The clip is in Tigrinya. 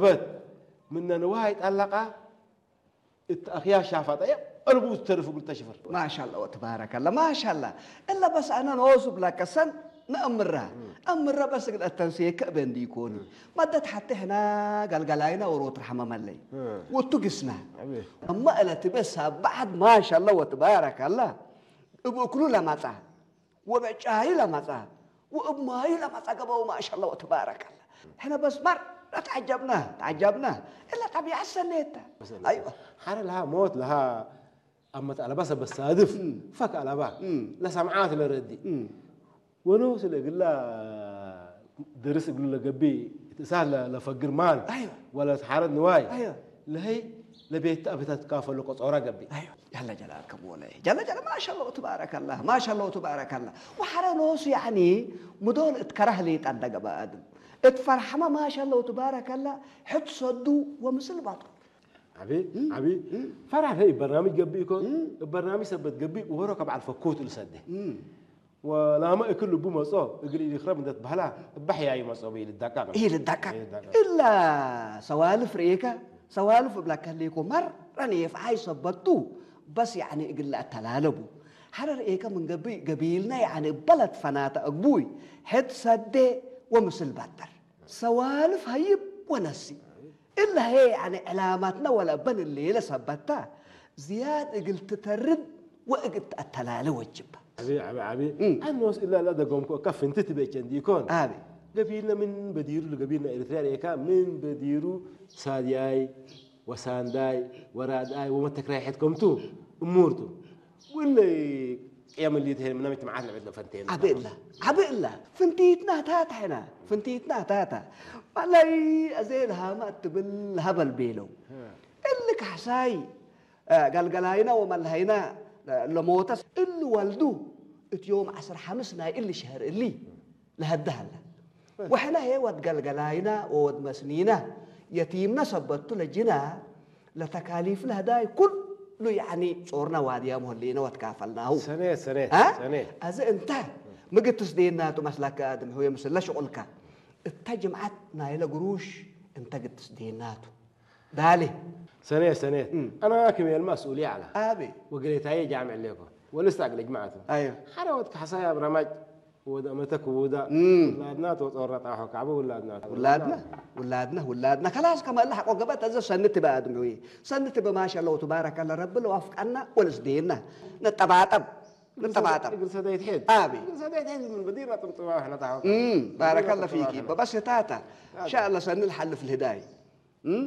በት ምነ ንዋይ ጣላቃ እትኣኽያ ሻፋጣ እያ ቀልቡ ዝተርፍ እግሉ ተሽፍር። ማሻላ ወተባረከላ ማሻላ። እላ በስ ኣነ ኖሱ ብላካ ሰን ነእምራ እምራ በስ እግል ኣተንስየ ከእበ እንዲ ይኮኒ። ማደት ሓቲ ሕና ጋልጋላይና ወሮት ረሕመ መለይ ወቱ ግስና። ኣማ እለቲ በስ ባዕድ ማሻላ ወተባረከላ እብ እክሉ ለማጻ ወበጫይ ለማጻ ወእብ ማይ ለማጻ ገባው ማሻላ ወተባረከላ። ሕነ በስ ማር ተዓጀብና ተዓጀብና። እላ ጠቢዓ ሰኔታ። ኣይዋ ሓረ ለሃ ሞት ለሃ ኣመት ኣለባ ሰበ ሳድፍ ፈክ ኣለባ ለሰምዓት ለረዲ ወኖ ስለ እግላ ድርስ እግሉ ለገቢ እትእሳት ለፈግር ማል ኣይዋ ወለ ተሓረት ንዋይ ኣይዋ ለሀይ ለቤት ኣቤታት ካፈሉ ቆጾራ ገቢ። ያለ ጀላል ከሞለ ጀለ ጀለ ማሻላ ወተባረከላ ማሻላ ወተባረከላ። ወሐረ ኖሱ ያኒ ምዶል እትከራህ ሊጣ እንደገባ ኣድም እትፈርሐማ ማሻላ ወተባረከላ። ሕት ሰዱ ወምስል ባጡ። ዓቢ ዓቢ ፈራሕ ለይ በርናምጅ ገቢ ይኮን በርናምጅ ሰበት ገቢ ወሮ ከብዓል ፈኮት ልሰደ ወላማ እክል ልቡ መጾ እግል ኢልክረብ እንደት ባህላ እባሕያዩ መጾ ብኢል ዳቃቅ ኢል ዳቃቅ። ኢል ዳቃቅ። እላ ሰዋልፍ ርኤካ ሰዋልፍ እብላ ከሊኮ መረን የፍዓይ ሰበቱ በስ ያኒ እግል ኣተላለቡ ሐረ ርኤካ ምን ገቢ ገቢልና ያኒ በለት ፈናተ እግቡይ ሕድ ሰዴ ወምስል ባጠር ሰዋልፍ ሀይብ ወነሲ እላ ሄ ያኒ ዕላማትና ወላ በን ሌለ ሰበታ ዝያድ እግል ትተርድ ወእግል ተኣተላለ ወጅባ። ዓቢ ዓቢ ዓቢ እም። ኣኖስ እላ እላ ደጎምኩ እካ ፍንቲ ትበቸ እንዲኮን። ኣቢ ገቢልና ምን በዲሩ ለገቢልና ኤርትራ ርኤካ ምን በዲሩ ሳድያይ ወሳንዳይ ወራድኣይ ወመተክራይ ሕትከምቱ እሙርቱ ውለ ቅያም ሊት ሄን ምናም ትምዓት ለዕድ ለፈንቴን። ዓቢ እላ ዓቢ እላ ፍንቲትና ታታ ሕና ፍንቲትና ታታ ማላይ ኣዘ ለሃማ እትብል ለሃበል ቤለው እሊ ካሕሳይ ጋልገላይና ወመልሃይና ለሞተስ እሊ ወልዱ እቲ ዮም ዓስር ሓምስ ናይ እሊ ሸህር እሊ ለሀድህ ኣለ። ወሕነ ሄ ወድ ገልገላይና ወወድ መስኒና የቲምነ ሰበቱ ለጅና ለተካሊፍ ለህዳይ ኩሉ ያኒ ጾርና ዋድያም ሆሊነ ወትካፈልናሁ። ሰኔት ሰኔት አ? ሰኔት። ኣዚ እንተ ምግትስ ዴናቱ መስላካ ኣድም ህወ ምስለ ሽቁልካ እተ ጅምዓት ናይለ ግሩሽ እንተ ግትስ ዴናቱ ዳሌ ሰኔት ሰኔት እም። ኣና ክሜል መስኡልያ ዓላ ኣቤ ወገሌታዬ ጃምዕ ሌኮ ወልስታ ግለ ጅማዓቱ ኣዮ ሓደ ወድ ካሕሳይ ኣብራማጅ ወደ መተክ ውዳ እም። ውላድና ተወጠወራ ጣሖ ካዕበ ውላድና ውላድና ውላድና ውላድና ከላስ ከመላ ሓቆ ገበት ኣዘ ሰንቲ በኣድምዊ ሰንቲ በማሻ ለው ትባረከ ለረቢ ለዋፍቃና ወልስዴና ነጠባጠብ ነጠባጠብ እግር ሰዳይ ትሄድ ኣቤ እግር ሰዳይ ትሄድ ምን በዲርና ጥምጥማ ሕና ጣሖ እም። ባረከ ለ ፊኪ በበስታታ ኢንሻአላ ሰኒ ልሓልፍ ልህዳይ እም።